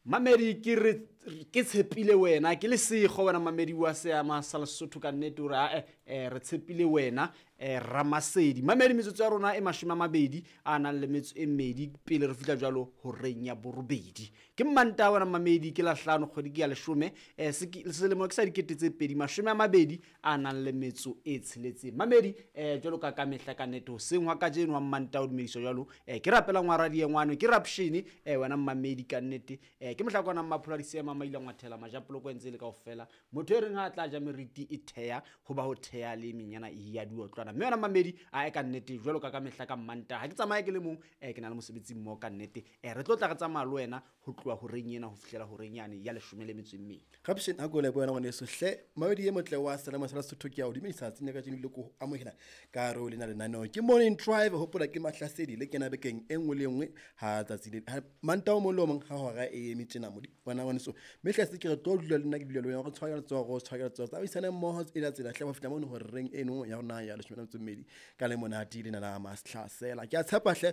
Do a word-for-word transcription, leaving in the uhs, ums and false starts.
Mamedi ke re ke tshepile wena, ke lesego wena mamedi wa seama sa Lesotho ka nnete hore ae eh, re tshepile wena eh, Ramasedi. Mamedi, metsotso ya rona e mashome a mabedi a nang le metso e mmedi pele re fihla jwalo horeng ya borobedi. Ke Mmantaha wena mamedi, ke Lahlano, kgwedi ke ya leshome, eh, selemo ke sa dikete tse pedi mashome a mabedi a nang le metso e tsheletseng. Mamedi, eh, jwalo ka ka mehla ka nnete hoseng hwa kajeno wa Mmantaha o dumediswa jwalo, eh, ke rapelang wa radie ngwane ke Rapshene, eh, wena mamedi ka nnete, eh, ke mohlakwana Mmapholo a Disema Maila Ngwathela Majapoloko entse le kaofela. Motho e reng ha a tla ja meriti e theha ho ba ho theha le menyana e ya diotlwana. Mme wena mamedi a e ka nnete jwalo ka ka mehla ka Mmantaha ha ke tsamaye ke le mong, eh, ke na le mosebetsi mmoho ka nnete. Eh, re tlo tla re tsamaya le wena ho tloha horeng ena ho fihlela horeng yane ya leshome le metso e mmedi. Rapshene, ha ko leboha wena ngwaneso hle. Mamedi e motle wa Selemo sa Lesotho, ke a o dumedisa tsatsing la kajeno le ko amohela ka hare ho lena lenaneo. Ke Morning Drive, hopola ke mahlasedi le kena bekeng e nngwe le e nngwe ha tsatsi le ha Mantaha o mong le o mong ha hora e eme tjena modi wena ngwaneso. Mme hle se ke re tlo dula le nna ke dula le wena, re tshware letsoho, re tshware letsoho, tsamaisane mmoho e la tsela hle ho fihla mono horeng eno ya rona ya leshome le metso e mmedi ka le monate lena la Mahlasela. Ke a tshepa hle